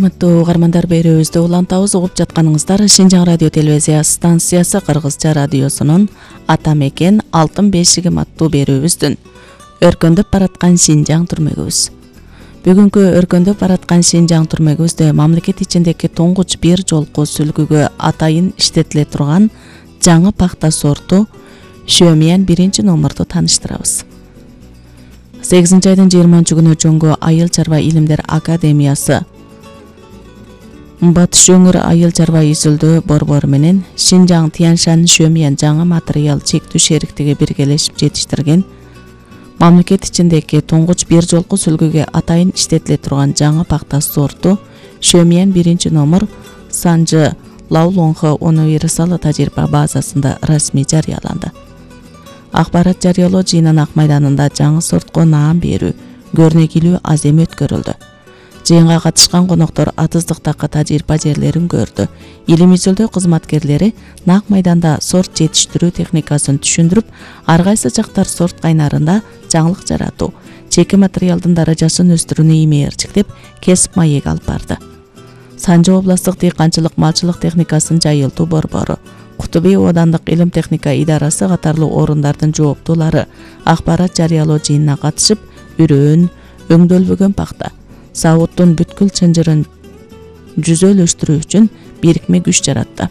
Урматтуу угармандар, берүүбүздү улантабыз. Угуп жатканыңыздар Шинжаң радио телевизия станциясы Кыргызча радиосунун Ата мекен алтын бешигим аттуу берүүбүздүн өркөндөп бараткан Шинжаң түрмөгүбүз. Бүгүнкү өркөндөп бараткан Шинжаң түрмөгүбүздө мамлекет ичиндеги туңгуч бир жолку сүлгүгө атайын иштетиле турган жаңы пахта сорту Шөмиян 1-номерду тааныштырабыз. 8-айдын 20 күнү Жоңго Айыл чарба илимдер академиясы Батыш өңүр айыл чарба изилдөө борбору менен Шинжаң Тяньшань Шөмиян жаңы материал чектүү шериктиги биргелешип жетиштирген мамлекет ичиндеги туңгуч бир жолку сүлгүгө атайын иштетиле турган жаңы пахта сорту Шөмиян 1-номер Санжы Лаулоңхо универсал тажрыйба базасында расмий жарыяланды. Акбарат жарыялоо жыйынын Ак майданында жаңы сортко наам берүү көрнекилүү азем өткөрүлдү. Жыйынга катышкан коноктор атыздыктагы тажрыйба жерлерин көрдү. Илим изилдөө кызматкерлери Ак майданда сорт жетиштирүү техникасын түшүндүрүп, ар кайсы жактар сорт кайнарында жаңылык жаратуу, чеки материалдын даражасын өстүрүүнү имээрчиктеп, кесип маек алып барды. Санжы областтык дыйканчылык малчылык техникасын жайылтуу борбору, Кутуби оодандык илим техника идарасы катарлуу орундардын жооптуулары акбарат жарыялоо жыйынына катышып, үрөөн, өңдөлбөгөн пахта, сабуттун бүткүл чынжырын жүзөлөштүрүү үчүн бирикме күч жаратты.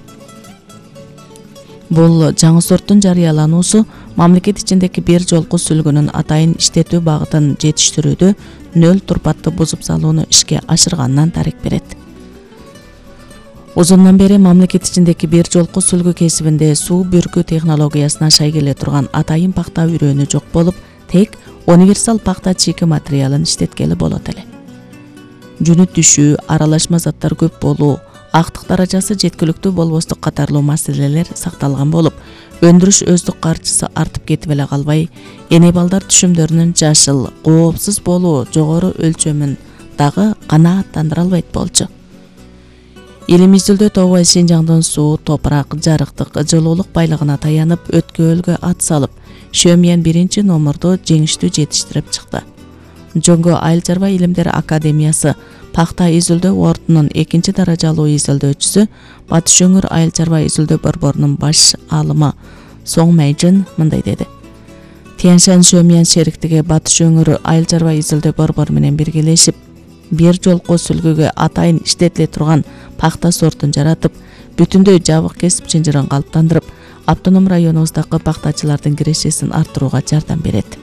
Бул жаңы сорттун жарыялануусу мамлекет ичиндеги бир жолку сүлгүнүн атайын иштетүү багытын жетиштирүүдө нөл турпатты бузуп салууну ишке ашырганынан дарек берет. Узундан бери мамлекет ичиндеги бир жолку сүлгү кесибинде суу бүркүү технологиясына шай келе турган атайын пахта үрөөнү жок болуп, тек универсал пахта чеки материалын иштеткели болот эле. Жүнүт түшүү, аралашма заттар көп болуу, актык даражасы жеткиликтүү болбостук катарлуу маселелер сакталган болуп, өндүрүш өздүк каржысы артып кетип эле калбай, эне балдар түшүмдөрүнүн жашыл, коопсуз болуу жогору өлчөмүн дагы канааттандыра албайт болчу. Илим изилдөө тобу Шинжаңдын суу, топурак, жарыктык, жылуулук байлыгына таянып, өткөөлгө ат салып, Шөмиян 1-номерду жеңиштүү жетиштирип чыкты. Жоңго Айыл чарба илимдер академиясы пахта изилдөө ордунун 2-даражалуу изилдөөчүсү, Батыш өңүр айыл чарба изилдөө борборунун баш алымы Соң Майжын мындай деди. Тяньшань Шөмиян шериктиги Батыш өңүр айыл чарба изилдөө борбору менен биргелешип, бир жолку сүлгүгө атайын иштетиле турган пахта сортун жаратып, бүтүндөй жабык кесип чынжырын калыптандырып, автоном районубуздагы пахтачылардын кирешесин арттырууга жардам берет.